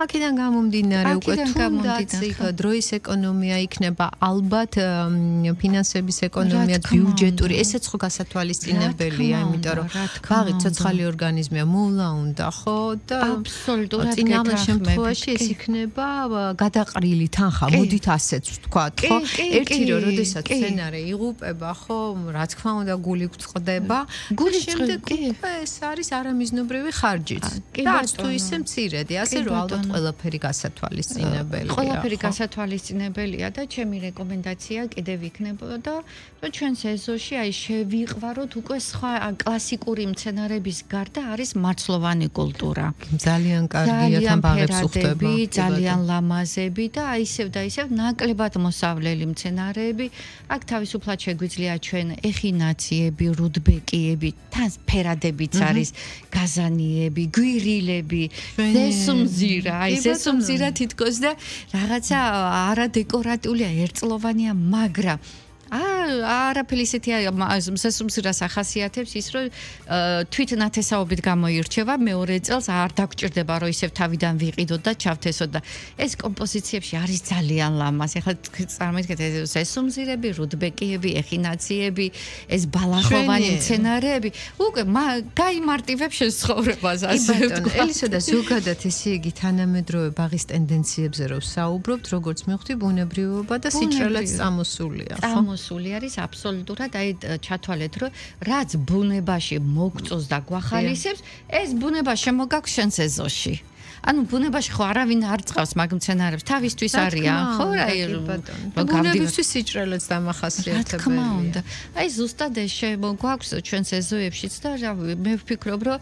აქედან გამომდინარე უკვე თუნდაც იქ დროის ეკონომია იქნება ალბათ ფინანსების ეკონომია ბიუჯეტური ესეც ხო გასათვალისწინებელია იმიტომ რომ ბაღი ცოცხალი ორგანიზმია მოულა უნდა ხო და აბსოლუტურად წინამორბედ შემთხვევაში ეს იქნება გადაყრილი თანხა მოდით ასეც ვთქვათ ხო ერთი რომ როდესაც სცენარე იღუპება ხო რა თქმა უნდა გული გვწყდება გული შემდეგ უკვე ეს არის არამიზნობრივი ხარჯიც და არც თუ ისე მცირედი ასე რომ ალბათ ყველაფერი გასათვალისწინებელია. ყველაფერი გასათვალისწინებელია და ჩემი რეკომენდაცია კიდევ იქნებოდა, რომ ჩვენს ეზოში აი შევიყვაროთ უკვე სხვა კლასიკური მცენარების გარდა არის მარცვლოვანი კულტურა. ძალიან კარგია თან ბაღებს უხდება. ძალიან ლამაზები და ისევ და ისევ ნაკლებად მოსავლელი მცენარეები. აქ თავისუფლად შეგვიძლია ჩვენ ეხინაციები, რუდბეკიები, თან ფერადებიც არის, გაზანიები, გვირილები, ზესუმზირა აი ზესუმზირა თითქოს და რაღაცა არადეკორატულია ერთწლოვანია მაგრამ არაფერი ისეთია ზესუმზირას ახასიათებს ის რომ თვით ნათესაობით გამოირჩევა მეორე წელს არ დაგჭირდება რომ ისევ თავიდან ვიყიდოთ და ჩავთესოთ და ეს კომპოზიციებში არის ძალიან ლამაზი ახლა წარმოიდგინეთ ზესუმზირები რუდბეკიები ეხინაციები ეს ბალახოვანი მცენარეები უკვე გაიმარტივებს შენ ცხოვრებას ასე ვთქვა ელისო და ზოგადად ესე იგი თანამედროვე ბაღის ტენდენციებზე რომ საუბრობთ როგორც მივხვდი ბუნებრივობა და სიჭრელეც წამოსულია ხო სული არის აბსოლუტურად აი ჩათვალეთ რომ რაც ბუნებაში მოგწოს და გვახალისებს ეს ბუნება შემოგაქვს შენს ეზოში ანუ ბუნებაში ხო არავინ არ წავს მაგ მცენარებს თავისთვის არიან ხო აი ბუნებისთვის სიჭრელეც დამახასიათებელია აი ზუსტად ეს შემოგვაქვს ჩვენს ეზოებშიც და მე ვფიქრობ რომ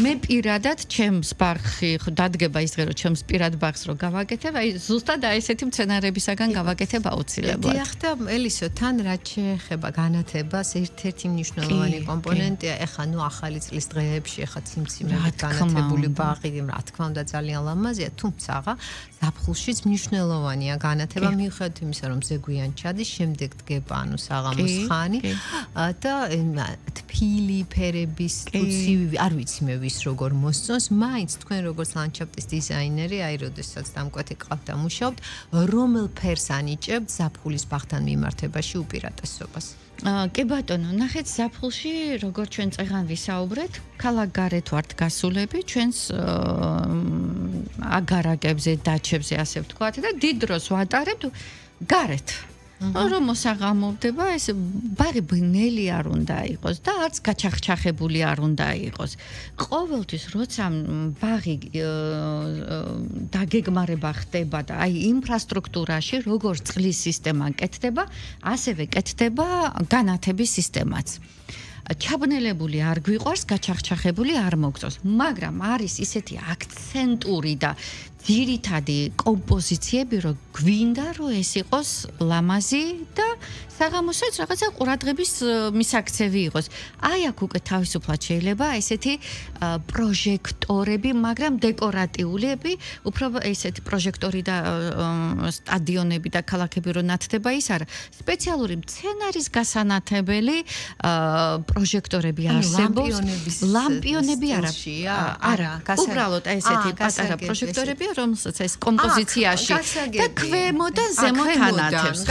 მე პირადად ჩემს ბაღში დადგება ის დღე რომ ჩემს პირად ბაღს რო გავაკეთებ აი ზუსტად აი ესეთი მცენარებისაგან გავაკეთებ აუცილებლად დიახ და ელისო თან რაც შეეხება განათებას ერთ-ერთი მნიშვნელოვანი კომპონენტია ეხა ნუ ახალი წლის დღეებში ეხა ციმციმებით განათებული ბაღი რა თქმა უნდა ძალიან ლამაზია, თუმცა ზაფხულშიც მნიშვნელოვანია განათება მიუხედავად იმისა, რომ ზეგვიან ჩადის, შემდეგ დგება ანუ საღამოს ხანი და თბილი ფერების უცივი, არ ვიცი მე ვის როგორ მოსწონს, მაინც თქვენ როგორც ლანდშაფტის დიზაინერი, აი როდესაც დამკვეთი ყავთ და მუშაობთ, რომელ ფერს ანიჭებთ ზაფხულის ბაღთან მიმართებაში უპირატესობას? კი ბატონო, ნახეთ ზაფხულში, როგორც ჩვენ წეღან ვისაუბრეთ, ქალაქ გარეთ ვართ გასულები, ჩვენს აგარაკებზე, დაჩებზე, ასე ვთქვათ და დიდ დროს ვატარებთ გარეთ. რომ მოსაღამოვდება, ეს ბაღი ბნელი არ უნდა იყოს და არც გაჩახჩახებული არ უნდა იყოს. ყოველთვის როცა ბაღი დაგეგმარება ხდება და აი ინფრასტრუქტურაში როგორც წყლის სისტემა კეთდება, ასევე კეთდება განათების სისტემაც. ჩაბნელებული არ გვიყვარს, გაჩახჩახებული არ მოგწონს, მაგრამ არის ისეთი აქცენტური და ძირითადი კომპოზიციები, რომ გვინდა, რომ ეს იყოს ლამაზი და საღამოსაც რაღაცა ყურადღების მისაქცევი იყოს. აი აქ უკვე თავისუფლად შეიძლება ესეთი პროჟექტორები, მაგრამ დეკორატიულები, უფრო ესეთი პროჟექტორი და სტადიონები და ქალაქები რო ნათდება ის არა. სპეციალური მცენარის გასანათებელი პროჟექტორები არსებობს. ლამპიონები არა, უბრალოდ ესეთი პატარა პროჟექტორები რომელსაც ეს კომპოზიციაში და ქვემოდან ზემოთ ანათებს.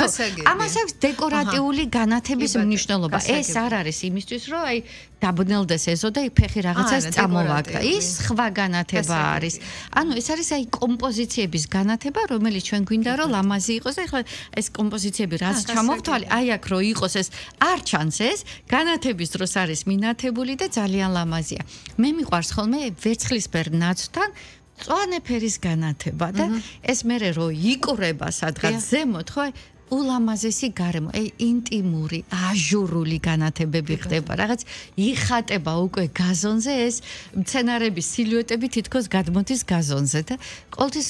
ამას აქვს დეკორატიული განათების მნიშვნელობა. ეს არ არის იმისთვის, რომ აი დაბნელდეს ეზო და ფეხი რაღაცას წამოვაგდა. ის სხვა განათება არის. ანუ ეს არის აი კომპოზიციების განათება, რომელიც ჩვენ გვინდა რომ ლამაზი იყოს და ეხლა ეს კომპოზიციები რაც ჩამოვთვალე, აი აქ რო იყოს ეს არ ჩანს ეს განათების დროს არის მინათებული და ძალიან ლამაზია. მე მიყვარს ხოლმე ვერცხლისფერ ნაცვთან მწვანე ფერის განათება და ეს მერე რო იკვრება სადღაც ზემოთ ხო ულამაზესი გარემო, ინტიმური, აჟურული განათებები ხდება, რაღაც იხატება უკვე გაზონზე ეს მცენარების სილუეტები თითქოს გადმოდის გაზონზე და ყოველთვის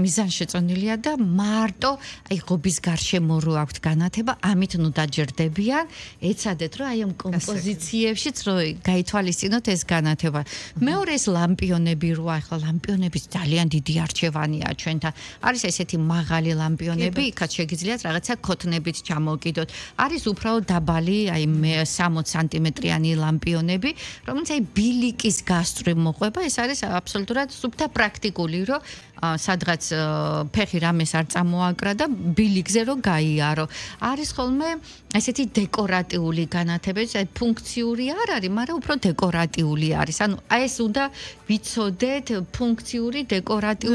მიზანშეწონილია და მარტო აი ღობის გარშემო რო აქვთ განათება, ამით ნუ დაჯერდებიან, ეცადეთ რომ აი ამ კომპოზიციებშიც რო გაითვალისწინოთ ეს განათება. მეორე ეს ლამპიონები რო ახლა ლამპიონების ძალიან დიდი არჩევანია ჩვენთან. არის ესეთი მაღალი ლამპიონები, იქაც შეგიძლიათ რაღაცა ქოთნებით ჩამოვკიდოთ. არის უბრალოდ დაბალი, აი 60 სანტიმეტრიანი ლამპიონები, რომელიც აი ბილიკის გასწვრივ მოყვება. ეს არის აბსოლუტურად სუფთა პრაქტიკული, რომ სადღაც ფეხი რამეს არ წამოაკრა და ბილიკზე რომ გაიარო. არის ხოლმე ესეთი დეკორატიული განათებები, აი ფუნქციური არ არის, მაგრამ უფრო დეკორატიული არის. ანუ ეს უნდა ვიცოდეთ ფუნქციური დეკორატიული